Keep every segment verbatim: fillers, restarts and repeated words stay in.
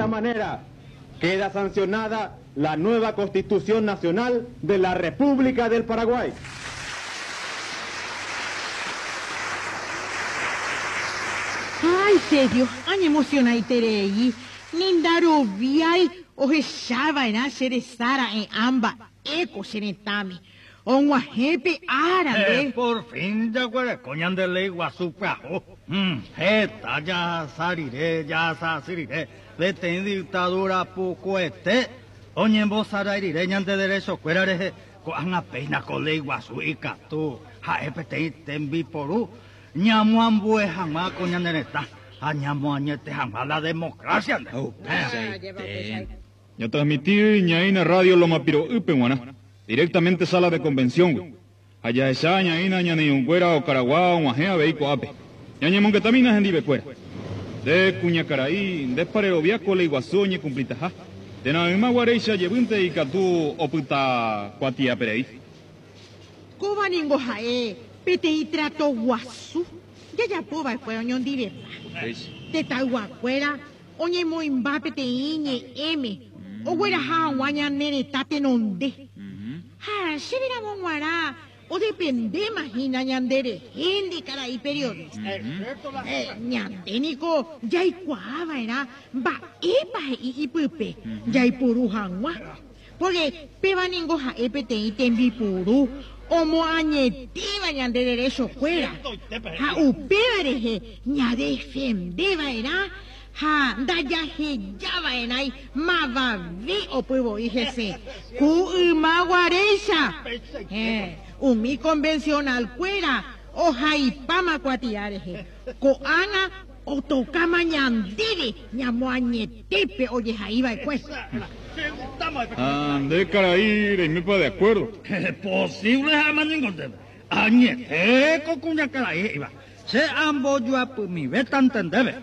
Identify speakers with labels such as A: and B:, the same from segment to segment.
A: manera, queda sancionada la nueva Constitución Nacional de la República del Paraguay.
B: Ay, serio, añemocionaiterei. Nindaroviái ohechava'erã che resára'e amba eko che retãme. Og̃uahẽpe árape.
C: Eh, por fin jaguereko ñande léi guasu pyahu. Hmm, heta jahasa rire, jahasa rire, peteĩ dictadura pukuete oñembosarái rire ñande derechokuéra rehe ko'ág̃a péina ko léi guasu ikatu ha'e peteĩ tembiporu ñamoambue hag̃ua ko ñane retã ha ñamoañete hag̃ua la democracia.
D: Ya transmitir ñaína radio Loma Piro'ýpe g̃uarã, directamente sala de convención. Jahecha ñaína ñane irũnguéra okaragua og̃uahẽ avei ko'ápe. Ñañemongetamína hendivekuéra. Nde kuñakarai, ndépa rerovia ko léi guasu oñekumplitaha. Térã ymaguaréicha jevýnte ikatu opyta kuatiaperei.
B: Kóva ningo ha'e peteĩ trato guasu jajapova'ekue oñondivepa. Tetãyguakuéra oñemoĩmba peteĩ ñe'ẽme ogueraha hag̃ua ñane retã tenonde. Ha chéveramo g̃uarã odependéma hína ñanderehe karai periodista. Eh, ñande niko jaikuaava'erã mba'épa he'i ipype jaipuru hag̃ua. Porque péva ningo ha'e peteĩ tembipuru omoañetéva ñande derechokuéra. Ha upéva rehe ñadefendeva'erã ha ndajahejava'erãi mavave opyvo'i hese. Ku ymaguaréicha. Eh, umi convencionalkuéra ohaipáma kuatia rehe. Ko'ág̃a otokáma ñandéve ñamoañetépe ojehaiva'ekue.
D: Ah, nde karai reimépa de acuerdo.
C: Posible ha'éma ningo ndéve. Añete ko kuñakarai he'íva. Che ambojoapymivéta ndéve.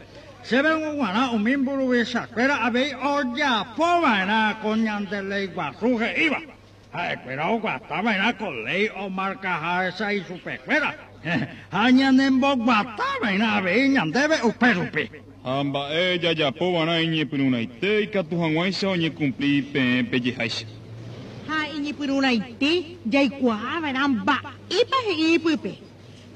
C: Chéve g̃uarã umi mburuvichakuéra avei ojapova'erã ko ñande léi guasu he'íva. Ha'ekuéra oguatava'erã ko léi omarkaháicha ichupekuéra. Ha ñanemboguatava'erã avei ñandéve upérupi.
D: Ha mba'e jajapova'erã iñepyrũrãite ikatu hag̃uáicha oñekumpli peẽ pejeháicha.
B: Ha iñepyrũrãite jaikuaava'erã mba'épa he'i ipype.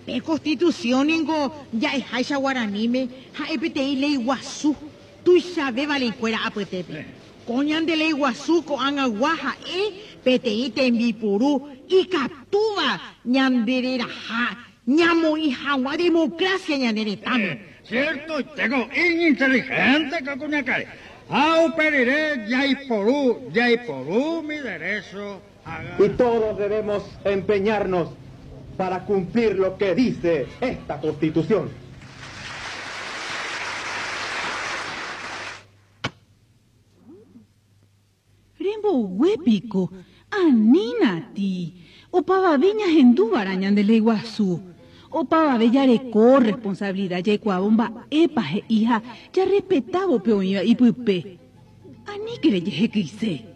B: Pe Constitución ningo ja'eháicha guaraníme ha'e peteĩ léi guasu tuichavéva leikuéra apytépe. Ko ñande léi guasu ko'ag̃agua ha'e peteĩ tembipuru ikatúva ñandereraha ñamoĩ hag̃ua democracia ñane retãme.
C: Cierto, tengo ininteligente ko kuñakarai. Ha uperire jaiporu, jaiporu mi derecho.
A: Y todos debemos empeñarnos para cumplir lo que dice esta Constitución.
E: Remboguépiko, anínati, opavave ñahendúvara ñande léi guasu. Opavave jareko responsabilidad jaikuaávo mba'épa he'i ha jarrespetávo pe oĩva ipype. Aníke rejehekyse.